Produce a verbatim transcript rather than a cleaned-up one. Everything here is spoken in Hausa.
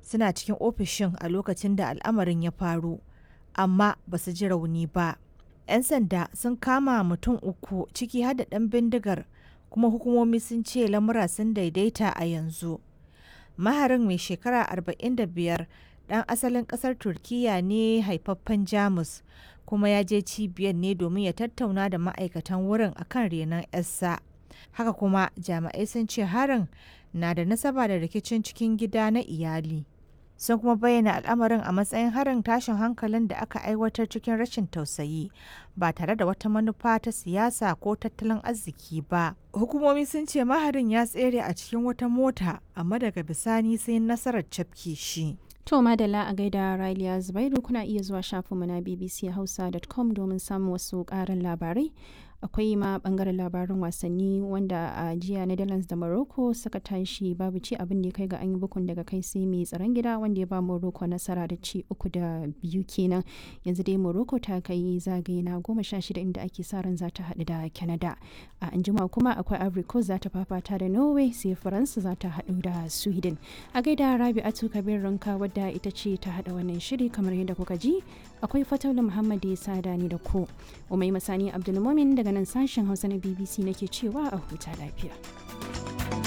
suna cikin ofishin a lokacin da al'amarin ya faru, amma ba su ji rauni ba. 'Yan sanda sun kama mutum uku ciki har da ɗan bindigar kuma hukumomi sun ce lamura sun daidaita a yanzu. Maharin mai shekara arba'in da biyar ɗan asalin ƙasar Turkiyya ne haifaffen Jamus kuma ya je cibiyar ne domin ya tattauna da ma'aikatan wurin akan renon 'yarsa. Haka kuma jami'ai sun ce harin na da nasaba da rikicin cikin gida na iyali. Sun kuma bayyana al'amarin a matsayin harin tashin hankalin da aka aiwatar cikin rashin tausayi ba tare da wata manufa ta siyasa ko tattalin arziki ba. Hukumomi sun ce maharin ya tsere a cikin wata mota amma daga bisani sai nasarar cafke shi. To madalla a gaida Raliya Zubairu, kuna iya zuwa shafinmu na bbchausa dot com domin samun wasu ƙarin labarai. Akwai ma bangaren labarin wasanni, wanda a jiya Netherlands da Morocco suka tashi babu ci, abin da ya kai ga an yi bukun daga kai sai mai tsaron gida, wanda ya ba Morocco nasara da ci uku da biyu kenan. Yanzu dai Morocco ta kai zagaye na goma sha shida, inda ake sa ran za ta haɗu da Canada. A anjima kuma akwai Ivory Coast za ta fafata da Norway, sai Faransa za ta haɗu da Sweden. A gaida Rabi'atu Kabir Ranka, wadda ita ce ta haɗa wannan shiri. Kamar yadda kuka ji, akwai Fataula Muhammad ya sada ni da ku. Umai Masani Abdulmumin daga nan sashen Hausa na B B C nake cewa a huta lafiya.